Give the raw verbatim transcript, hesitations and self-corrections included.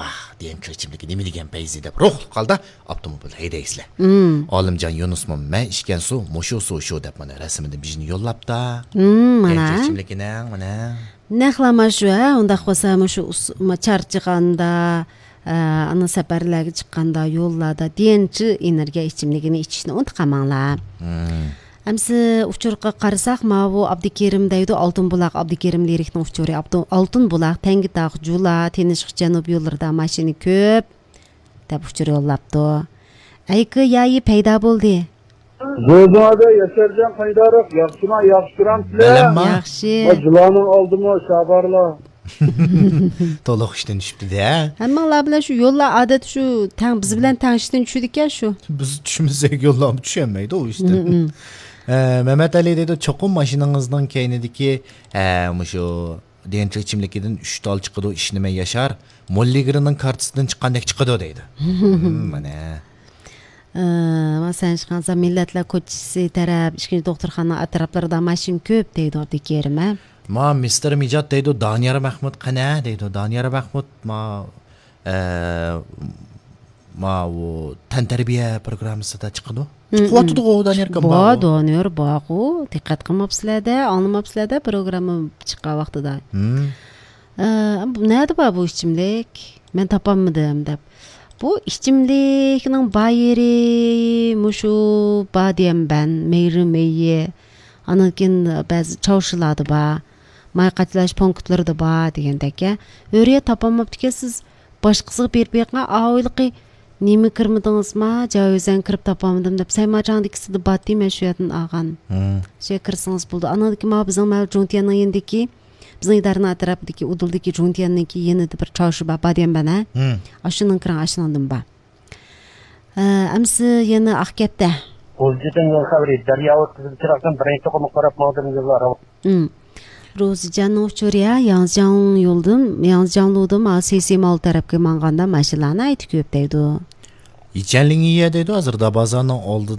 ۋاھ، دېگەن كىر ئىچىملىكى نېمە دېگەن پەيزى دەپ روھلۇق ھالدا ئاپتوموبىل ھەيدەيسىلەر. مم. ئالىمجان يۇنۇسمۇ مەن ئىچكەن سۇ، مۇشۇ سۇ شۇ دەپ مانا رەسىمىدىن بىر يوللاپتا. مم، مانا. دېگەن كىر ئىچىملىكىنىڭ مانا. نەقلا مانا شۇ، ھە، ئۇنداق بولسا مۇشۇ ئۇس-، ما-، چارچىغاندا، ئە، ئانا سەپەرلەرگە چىققاندا، يوللاردا دېگەنچە ئېنېرگىيە ئىچىملىكىنى ئىچىشنى ئۇنتۇپ قالماڭلار. مم. ئەمسە ئۇچۇرغا قارىساق، ماۋۇ ئابدۇكېرىم دەيدۇ، ئالتۇن بۇلاق، ئابدۇكېرىم لىرىكنىڭ ئۇچۇرى، ئابدۇ-، ئالتۇن بۇلاق، تەڭگىتاغ، جۇلا، تىنچلىق جەنۇب يوللىرىدا ماشىنا كۆپ، دەپ ئۇچۇر يوللاپتۇ. ئەيكى يايى پەيدا بولدى. زۆزۈڭەدە ياشارجان قايدارىق، ياخشىما، ياخشى كۆرەمسىلەر؟ بەلەمما. ياخشى. ۋە جۇلانىڭ ئالدىمۇ شابارلا. تولۇق ئىشتىن چۈشۈپتۇ-دە. ھەممىڭلار بىلەن شۇ يوللار ئادەتتە شۇ تەڭ، بىز بىلەن تەڭ ئىشتىن چۈشىدىكەن شۇ. بىز چۈشمىسەك يوللارمۇ چۈشەلمەيدۇ ئۇ ئىشتىن. مم، مم. ئە، مەمەت ئەلى دەيدۇ، چوقۇم ماشىنىڭىزنىڭ كەينىدىكى، ئە، مۇشۇ دېنچۇ ئىچىملىكىدىن ئۈچ تال چىقىدۇ، ئىشىنىمەن ياشار. موللىگىرنىڭ كارتىسىدىن چىققاندەك چىقىدۇ دەيدۇ. مم، مانا. ئە، مانا سەن ئىشقانسا مىللەتلەر كوچىسى تەرەپ، ئىككىنچى دوختۇرخانا ئەتراپلىرىدا ماشىنا كۆپ دەيدۇ ئابدۇكېرىم، ھە؟ ما مىستېر مىجات دەيدۇ، دانىيار مەخمۇت قەنە دەيدۇ. دانىيار مەخمۇت ما، ئە، ماۋۇ تەنتەربىيە پروگراممىسىدا چىقىدۇ. مم، چىقىۋاتىدىغۇ دانىيار ئاكام بار، بارغۇ. دانىيار بارغۇ. دىققەت قىلماپسىلەر-دە، ئاڭلىماپسىلەر-دە پروگرامما چىققان ۋاقتىدا. مم. ئە، بۇ نەدە بار بۇ ئىچىملىك؟ مەن تاپالمىدىم دەپ. بۇ ئىچىملىكنىڭ بار يېرى مۇشۇ باديەنبەن، مېيرى مېيى، ئاندىن كېيىن بەزى چاۋشىلاردا بار، ماي قاچىلاش پونكىتلىرىدا بار دېگەندەك. ھۆرىيەت تاپالماپتىكەنسىز، باشقىسىغا بېرىپ بېقىڭ، ئاۋۇ ھېلىقى نېمە كىرمىدىڭىزما؟ جاۋىزەن كىرىپ تاپالمىدىم دەپ، سەيماچاڭدىكىسىدە بارتى، مەن شۇ يەردىن ئالغان. مم. شۇ يەرگە كىرسىڭىز بولىدۇ. ئاندىن كېيىن ماۋۇ بىزنىڭ مەۋجۇت جۇڭتيەننىڭ يېنىدىكى بىزنىڭ ئىدارىنىڭ ئەتراپىدىكى ئۇدۇلدىكى جۇڭتيەننىڭكى يېنىدا بىر چاۋشى بار، باديەنبەن، ھە؟ ھىم. ئاشۇنىڭ كىرىڭ، ئاشۇنىڭدىن بار. ھە، ئەمسە يەنە ئاقكەپتە. غۇلجىدىن يول خەۋىرى، دەريا ئوتتۇزىنچى چىراغدىن بىرىنچى توقۇمغا قاراپ ماڭدىم يوللار. ھىم. روزىجاننىڭ ئۇچۇرى، ھە، ياڭزىجاڭ يولدىن، ياڭزىجاڭلۇدىن، ھە، سىسىماۋ تەرەپكە ماڭغاندا ماشىنىلار ناھايىتى كۆپ دەيدۇ. يىچەنلىڭيە دەيدۇ، ھازىر دابازاننىڭ ئالدى،